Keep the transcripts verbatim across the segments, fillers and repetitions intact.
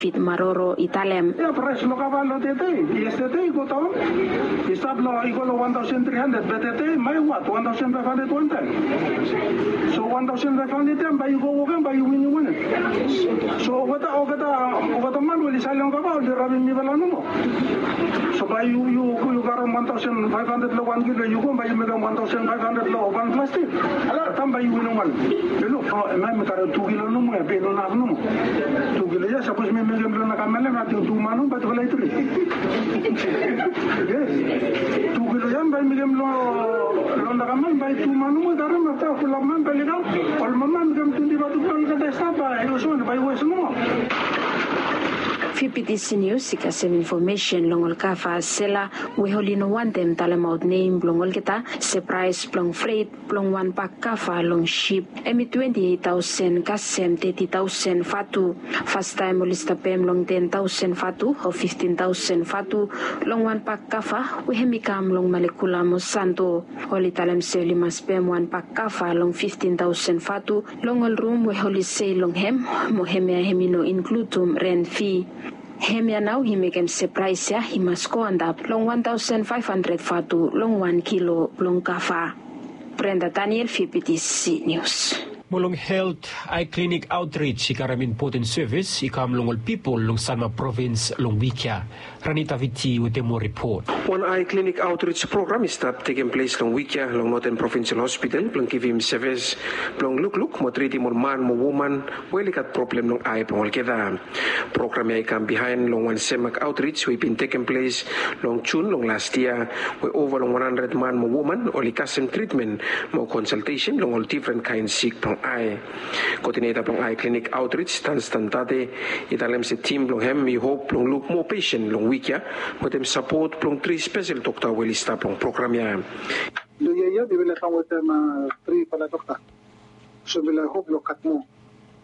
David Maroro i talem. Ya, praes blong kava long tede, yestede i go daon. I stap long, i go long wan taosen tri handred, be tede mai wat, wan taosen faef handred wan taem. So wan taosen faef handred ya bae yu go wok ya bae yu winim wanem? So olgeta, olgeta, olgeta man we oli saen long kava oli rabim mifala nomo. So bae yu, yu, yu karem wan taosen faef handred long wan kilo, yu go bae yu mekem wan taosen faef handred long wan plastik. Taem bae yu winim wanem? Yu luk, o, hemia mi karem tu kilo nomo ya, be i no inaf nomo. Tu kilo ya sapos mi mekem long nakamal ya, ating tu man nomo bae tufala i tri. Yes. Tu kilo ya bae mekem long, long nakamal bae tu man nomo i karem, afta fulap man bae oli kam. Ol mama mekem twenti faef tu kilo olgeta i stap, bae i oswan bae i wes nomo. Fifty News i kasem infomesen long ol kava sela we oli no wantem talemaot nem blong olgeta se praes blong fret blong wan bak kava long sip hemi twenti eit taosen kasem teti taosen vatu. Fastaem oli stap pem long ten taosen vatu o fiftin taosen vatu long wan bak kava we hemi kam long Malekula mo Santo. Oli talem se oli mas pem wan bak kava long fiftin taosen vatu long ol rum we oli sei long hem, mo hemia hemi no inkludim ren fi. Hemia nao i mekem se praes ya i mas go antap long wan taosen faef handred vatu long wan kilo blong kava. Brenda Daniel, Fifty News. Mo long helt, Eye Clinic Outreach i karem impoten sevis i kam long ol pipol long Sanma provins long wik ya. Rani Taviti wetem moa ripot. Wan Eye Clinic Outreach program i stap tekem ples long wik ya long Northern Provincial Hospital blong givim sevis blong lukluk mo tritim ol man mo woman we oli gat problem long ae blong olgeta. Program ya i kam bihaen long wan Semak Outreach we i bin tekem ples long Jun long las yia, we ova long wan handred man mo woman oli kasem tritmen mo konsaltesen long ol difren kaen sik blong ae. Koodineta blong Eye Clinic Outreach, Dunstan Tate, i talem se tim blong hem i hop blong luk moa pesen long wik ya wetem sapot blong tri spesel dokta we oli stap long program ya. Long yia ya mifala i kam wetem trifala dokta. So mifala i hop long gat moa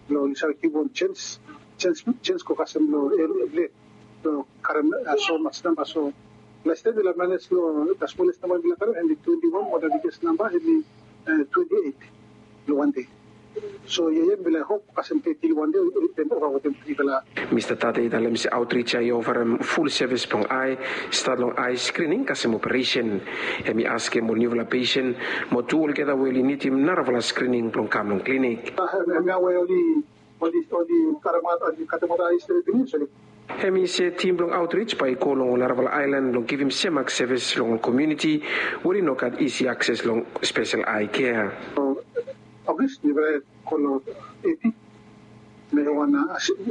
blong oli save givim wan jens, jens, jens go kasem long evri, evri dei blong karem so mas namba. So las taem mifala i manes long the smallest number mifala i karem hemi twenti wan, mo the biggest number hemi twenti eit long wan dei. So yia ya mifala i hop kasem teti long wan dei we oli ova wetem trifala. Mista Tate i talem se outreach ya i ofarem ful sevis blong ae, stat long ae skrining kasem operesen. Hemi askem ol niufala pesen mo tu olgeta we oli nidim narafala skrining blong kam long klinik. Hemia we oli, oli, oli karemaot, oli katemaot ae stret pinis, oli. Hemi se tim blong outreach bae i go long ol narafala aelan blong givim Semak sevis long ol komuniti we oli no gat isi akses long spesel ae kea. Ogis mifala i go long Eti. Mekem wan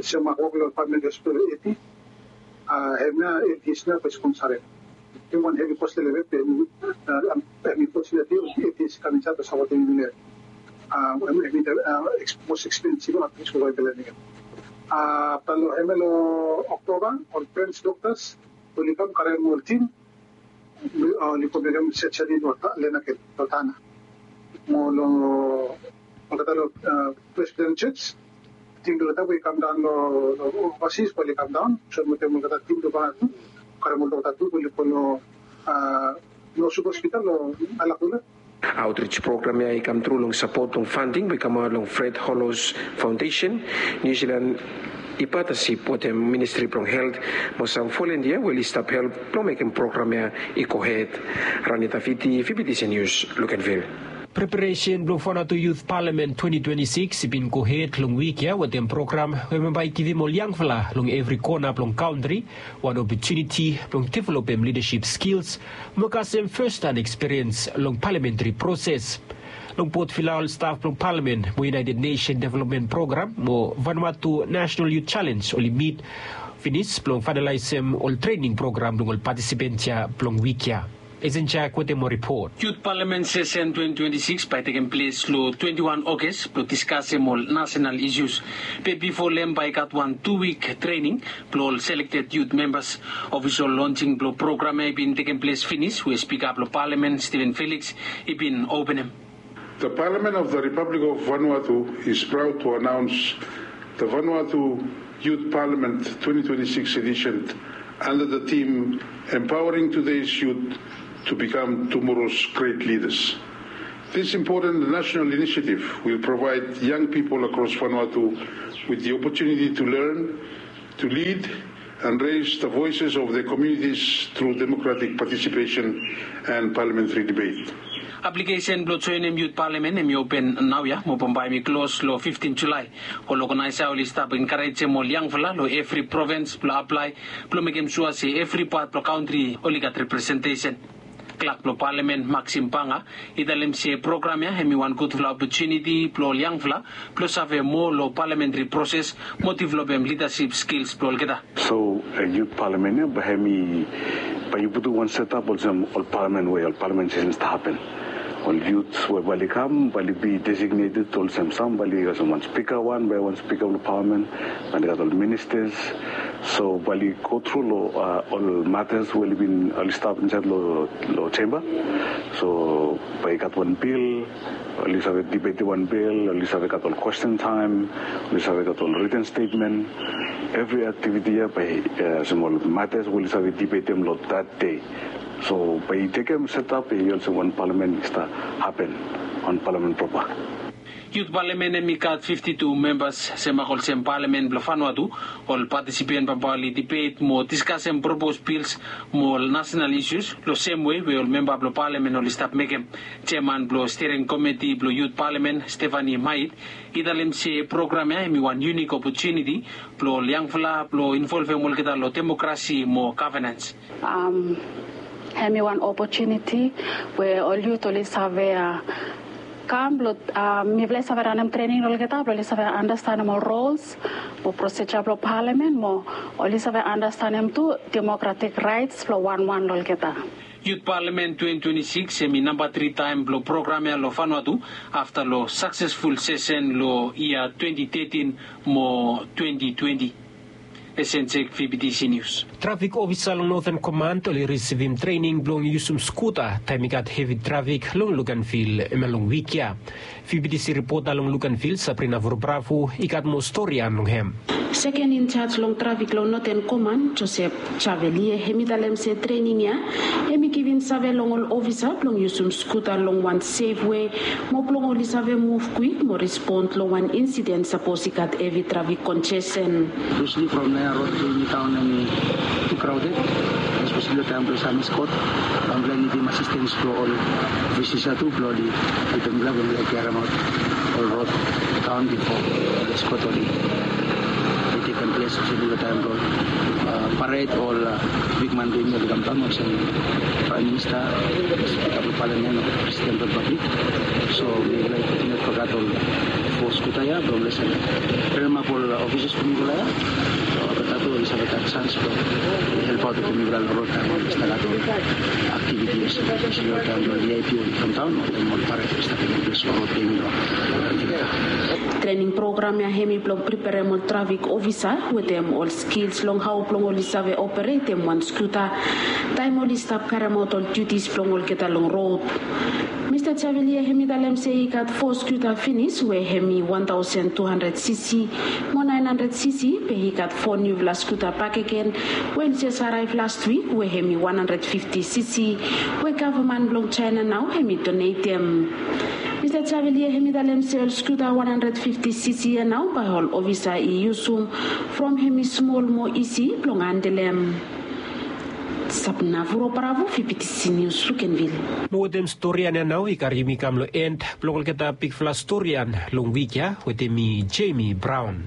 Semak wok long pamili hospital Eti. Hemia Eti i stap sponsorem. Hemi wan hevi kos long hem, be hemi, unfortunately, Eti i kam insaed blong sapotem yumi long hem. Hemi the most expensive outreach program mifala i mekem. Afta long hemia long Oktoba, ol French doctors oli kam karem ol tim. Oli go mekem surgery long Lenakel, long Tanna. Mo long olgeta long Presbyterian Church, tim blong olgeta we i kam daon long overseas bae oli kam daon. So wetem olgeta tim blong Vanuatu, karem ol dokta tu bae oli go long Northwood Hospital long Malekula. Outreach program ya i kam tru long sapot blong funding we i kamaot long Fred Hollows Foundation, New Zealand i patasip wetem Ministri blong Helt mo sam volunteer we oli stap help blong mekem program ya i gohed. Rani Taviti, Fifty News, Luganville. Preparesen blong Vanuatu Youth Parliament twenty twenty-six i bin gohed long wik ya wetem program we bae i givim ol yangfala long evri kona blong kantri wan opotuniti blong developem lidasip skils mo kasem firsthand ekspiriens long paliamentri proses. Long Port Vila, ol staf blong palamen mo United Nation Development Program mo Vanuatu National Youth Challenge oli mit finis blong faenalaesem ol trening program blong ol patisipants ya blong wik ya. Esen Jack wetem moa ripot. Youth Parliament sesen twenty twenty-six bae i tekem ples long twenty-one August blong diskasem ol nasenal isus. Be bifo long hem bae i gat wan tu wik trening blong ol selekted youth membas. Ofisol lonsing blong program ya i bin tekem ples finis we Spika blong Palamen, Steven Felix, i bin openem. The Parliament of the Republic of Vanuatu is proud to announce the Vanuatu Youth Parliament twenty twenty-six edition under the theme Empowering Today's Youth to Become Tomorrow's Great Leaders. This important national initiative will provide young people across Vanuatu with the opportunity to learn, to lead and raise the voices of the communities through democratic participation and parliamentary debate. Aplikesen blong joenem yut palamen hem i open naoia mo bambae hem i klos long fiftin Julae. Ol oganaesa oli stap enkarejem ol yangfala long evri provins blong aplae blong mekem sua se evri pat blong kantri oli gat representesen. Klak blong palamen Maxim Banga i talem se program ya hem i wan gudfala opotuniti blong ol yangfala blong save moa long palamentri proses mo developem lidasip skils blong olgeta. So yut palamen ya bae hem i bae yu putum wan setap olsem ol palamen we ol palamen sesen stap hapen. Ol yut we bae oli kam bae oli bi designated olsem sam bae oli olsem wan spika wan bae wan spika blong palamen. Bae oli gat ol ministas. So bae oli go tru long ol matas we oli bin oli stap insaed long chemba. So bae i gat wan bil oli save dibetim wan bil oli save gat ol kwesten taem oli save gat ol riten stetmen. Evri aktiviti ya bae olsem ol matas we oli save dibetim long dat dei. So bae i tekem setap i olsem wan palamen i stap hapen wan palamen propa. Yut palamen hem i gat fifti tu membas semak olsem palamen blong Vanuatu. Ol patisipen bambae oli dibet mo diskasem propos bils mo ol nasenal isus long semwe we ol memba blong palamen oli stap mekem. Jeman blong stiring komiti blong yut palamen Stefani Mait i talem se program ya hem i wan yunik opotuniti blong ol yangfala blong involvem olgeta long demokrasi mo gavenans. Hem i wan opotuniti we ol yut oli save kam blong mifala i save ranem trening long olgeta blong oli save anastenem ol rols mo prosija blong palamen mo oli save anastenem tu demokratik raets blong wanwan long olgeta. Yut palamen twenti twenti sikis hem i namba tri taem blong program ya long Vanuatu afta long saksesful sesen long yia twenti tetin mo twenti twenti. Esensek V B T C News. Trafik ofisa long Northern Command oli risivim trening blong yusum skuta taem i gat hevi trafik long Luganville hemia long wik ya. V B T C ripota long Luganville Sabrina Vurbravu i gat moa stori ya long hem. Seken injaj long trafik long Northern Command Joseph Chavelie hem i talem se trening ya hem i givim save long ol ofisa blong yusum skuta long wan sef we mo blong oli save muv kwik mo respon long wan insiden sapos i gat hevi trafik konjesen. Espeseli from Naya Road tu Niu Taon hem i tu kraoded. Espeseli long taem blong Samis Kot. Bae mifala i nidim asistens blong ol ofisa tu blong oli helpem mifala blong mifala i karemaot ol rod daon bifo ol eskot oli tekem ples. Espeseli long taem blong pared ol bigman blong yumi oli kamdaon olsem Praem Minista, Spika blong Palamen o Presiden blong Ripablik. So mifala i kontiniu fogat ol fo skuta ya blong lesen, tremap ol ofisas blong mifala ya. So olgeta tu oli save gat sans blong helpaot wetem mifala long rod taem oli stap gat ol aktiviti olsem, espeseli long taem blong V I P oli kamdaon o taem ol pared oli stap tekem ples long rod blong yumi long Antigua. Trening program ya hem i blong preperem ol trafik ofisa wetem ol skils long hao blong oli save operetem wan skuta taem oli stap karemaot ol diutis blong olgeta long rod. Mista Javelia hem i talem se i gat fo skuta finis we hem i wan taosen tu handred cc mo naen handred cc, be i gat fo niufala skuta bakegen we oli jes araev lastwik we hem i wan handred fifti cc we gavman blong Jaena nao hem i donetem. Mista Javelia hem i talem se ol skuta wan handred fifti cc ya nao bae ol ofisa i yusum from hem i smol mo isi blong handelem. Sabna Vuro Bravo, V B T C News, Luganville. Mo wetem storian ya nao i karim yumi kam long en blong olgeta bigfala storian long wik ya wetem mi, Jamie Brown.